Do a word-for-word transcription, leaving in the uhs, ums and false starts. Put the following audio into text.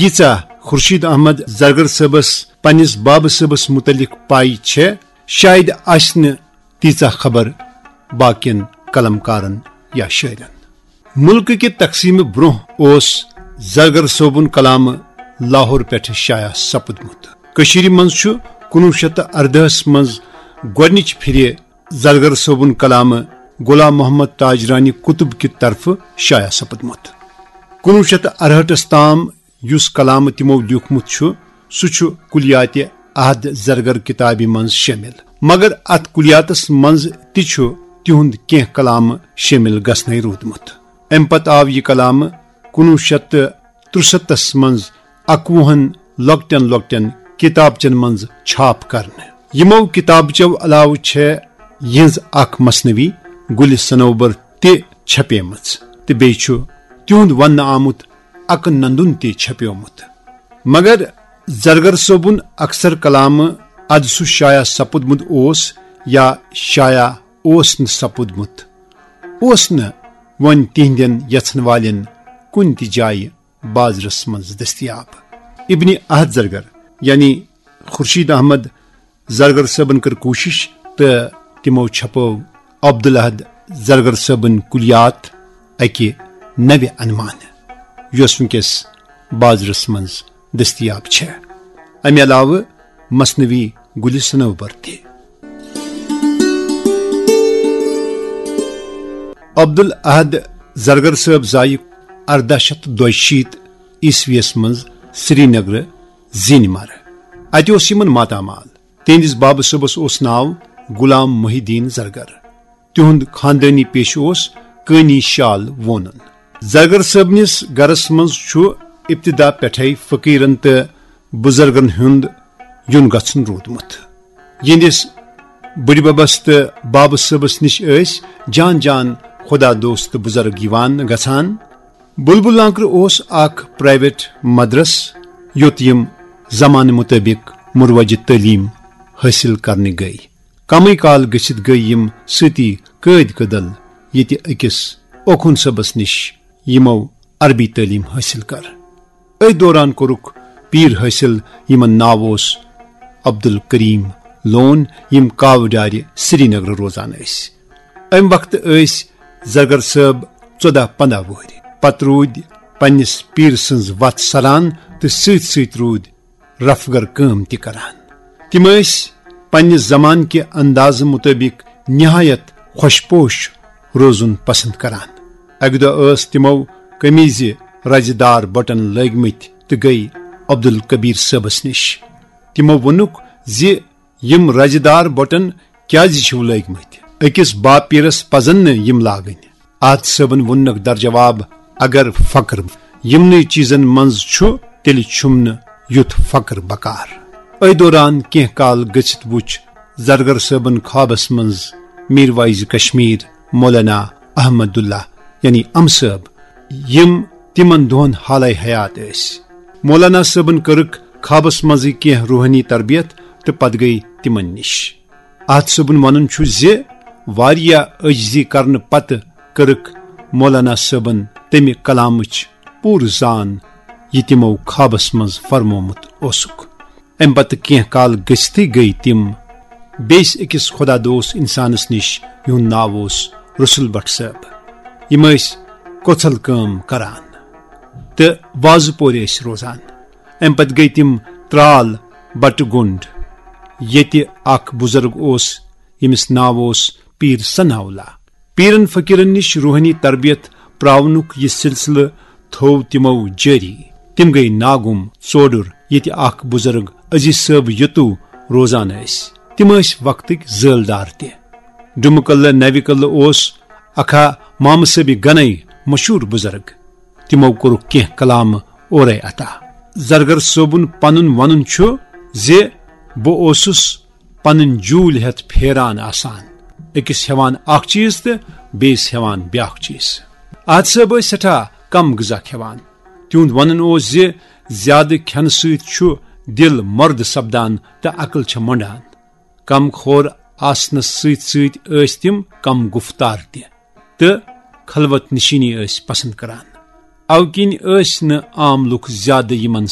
ییٖژاہ خورشید احمد زرگر صٲبس پننِس بابہٕ صٲبس متعلق پاے چھےٚ، شاید آسہِ نہٕ تیٖژاہ خبر باقین قلم کارن یا شٲعرن۔ ملکہٕ کہِ تقسیٖمہٕ برونٛہہ اوس زرگر صٲبُن کلامہٕ لاہور پٮ۪ٹھٕ شایع سپُدمُت۔ کٔشیٖرِ منٛز چھُ کُنوُہ شیٚتھ تہٕ اردہس منٛز گۄڈٕنِچ پھِرِ زرگر صٲبُن کلامہٕ غلام محمد تاجرانی قطب کہِ طرفہٕ شایع سپُدمُت۔ کُنوُہ شیٚتھ تہٕ ارہٲٹھس تام یُس کلامہٕ تِمو لیوٗکھمُت چھُ، سُہ چھُ کلیات عہد زرگر کتابہِ منٛز شٲمِل، مگر اتھ کلیاتس منٛز تہِ چھُ تِہُنٛد کینٛہہ کلامہٕ شٲمِل گژھنَے روٗدمُت۔ امہِ پتہٕ آو یہِ کلامہٕ کُنوُہ شیٚتھ تہٕ ترُستتھس منٛز اکوُہن لۄکٹٮ۪ن لۄکٹٮ۪ن کتابچن منٛز چھاپ کرنہٕ۔ یِمو کتابچو علاوٕ چھےٚ یِہٕنٛز اکھ مثنوی گُلِ صنوبر تہِ چھپیمٕژ، تہٕ بیٚیہِ چھُ تِہُنٛد وننہٕ آمُت اکہٕ نندُن تہِ چھپیومُت۔ مگر زرگر صٲبُن اکثر کلامہٕ ادٕ سُہ شایع سپُدمُت اوس یا شایع اوس نہٕ سپُدمُت، اوس نہٕ وۄنۍ تِہنٛدٮ۪ن یژھن والٮ۪ن کُنہِ تہِ جایہِ بازرس منٛز دٔستیاب۔ ابن احد زرگر یعنی خورشید احمد زرگر صٲبن کٔر کوٗشش تہٕ تِمو چھپٲو عبدالاحد زرگر صٲبٕنۍ کُلیات اکہِ نوِ عنوانہٕ، یۄس وٕنکیٚس بازرس منٛز دٔستیاب چھےٚ۔ امہِ علاوٕ مثنوی گُلِ صنوبر تہِ۔ عبدالاحد زرگر صٲب زایہِ اردہ شیتھ دۄیہِ شیٖتھ عیسویس منٛز سرینگرٕ زینہِ مرٕ۔ اتہِ اوس یِمن ماتامال۔ تِہنٛدِس بابہٕ صٲبس اوس ناو غلام محی الدین زرگر۔ تِہُنٛد خاندٲنی پیشہٕ اوس کٲنی شال وونُن۔ زرگر صٲبنِس گرس منٛز چھُ ابتدا پٮ۪ٹھے فقیرن تہٕ بزرگن ہُنٛد یُن گژھُن روٗدمُت۔ یِہنٛدِس بٕڈِببس تہٕ بابہٕ صٲبس نِش ٲسۍ جان جان خدا دوست بزرگ یِوان گژھان۔ بلبل لانکرٕ اوس اکھ پرائیویٹ مدرس، یوٚت یِم زمانہٕ مطٲبق مروجہِ تعلیٖم حٲصِل کرنہِ گٔیہِ۔ کمٕے کال گٔژھِتھ گٔیہِ یِم سۭتی قٲدۍ کدل، ییٚتہِ أکِس اوکھُن صٲبس نِش یِمو عربی تعلیٖم حٲصِل کٔر۔ أتھۍ دوران کوٚرُکھ پیٖر حٲصِل، یِمن ناو اوس عبدالکریم لون، یِم کاوٕ ڈارِ سرینگرٕ روزان ٲسۍ۔ امہِ وقتہٕ ٲسۍ زرگر صٲب ژۄدہ پندہ وُہرۍ۔ پتہٕ روٗدۍ پننِس پیٖر سٕنٛز وتھ سران تہٕ سۭتۍ سۭتۍ روٗدۍ رفگر کٲم تہِ کران۔ تِم ٲسۍ پننہِ زمانہٕ کہِ اندازٕ مطٲبق نہایت خۄش پوش روزُن پسند کران۔ اکہِ دۄہ ٲس تِمو قمیضہِ رزِ دار بٹن لٲگمٕتۍ تہٕ گٔیہِ عبدالکبیر صٲبس نِش۔ تِمو ووٚنُکھ زِ یِم رزِ دار بٹن کیازِ چھِو لٲگمٕتۍ؟ أکِس باپیٖرس پزن نہٕ یِم لاگٕنۍ۔ احد صٲبن ووٚننکھ در جواب، اگر فقر یِمنٕے چیزن منٛز چھُ، تیٚلہِ چھُم نہٕ یُتھ فقر بکار۔ أتھۍ دوران کینٛہہ کال گٔژھِتھ وُچھ زرگر صٲبن خوابس منٛز میر واعظ کشمیر مولانا احمد اللہ یعنی ام صٲب، یِم تِمن دۄہن حالے حیات ٲسۍ۔ مولانا صٲبن کٔرٕکھ خوابس منٛزٕے کینٛہہ روحٲنی تربیت تہٕ پتہٕ گٔیہِ تِمن نِش۔ احد صٲبُن ونُن چھُ زِ واریاہ عٲجزی کرنہٕ پتہٕ کٔرٕکھ مولانا صٲبن تمہِ کلامٕچ پوٗرٕ زان، یہِ تِمو خوابس منٛز فرمومُت اوسُکھ۔ امہِ پتہٕ کینٛہہ کال گٔژھتھٕے گٔیہِ تِم بیٚیِس أکِس خۄدا دوست انسانس نِش، یِہُنٛد ناو اوس رسول بٹ صٲب۔ یِم ٲسۍ کوژھل کٲم کران تہٕ وازٕ پورِ ٲسۍ روزان۔ امہِ پتہٕ گٔیہِ تِم ترال بٹہٕ گُنڈ، ییٚتہِ اکھ بُزرگ اوس، ییٚمِس ناو اوس پیٖر ثناء اللہ۔ پیٖرن فقیٖرن نِش روحٲنی تربیت پراونُک یہِ سلسلہٕ تھوو تِمو جٲری۔ تِم گٔیہِ ناگُم ژوڈُر، ییٚتہِ اکھ بُزرگ عزیز صٲب یتو روزان ٲسۍ۔ تِم ٲسۍ وقتٕکۍ زٲلدار تہِ۔ ڈُمہٕ قلعہٕ نوِ قلعہٕ اوس اکھا مامہٕ صٲبِ گنے مشہوٗر بُزرگ۔ تِمو کوٚرُکھ کینٛہہ کلامہٕ اورے عطا۔ زرگر صٲبُن پنُن ونُن چھُ زِ بہٕ اوسُس پنٕنۍ جوٗلۍ ہٮ۪تھ پھیران آسان، أکِس ہٮ۪وان اکھ چیٖز تہٕ بیٚیِس ہٮ۪وان بیٛاکھ چیٖز۔ احد صٲب ٲسۍ سٮ۪ٹھاہ کم غذا کھٮ۪وان۔ تِہُنٛد ونُن اوس زِ زیادٕ کھٮ۪نہٕ سۭتۍ چھُ دِل مۄردٕ سپدان تہٕ عقل چھےٚ مۄنڈان۔ کم خور آسنس سۭتۍ سۭتۍ ٲسۍ تِم کم گفتار تہِ تہٕ خلوت نشینی ٲسۍ پسند کران۔ اوٕ کِنۍ ٲسۍ نہٕ عام لوٗکھ زیادٕ یِمن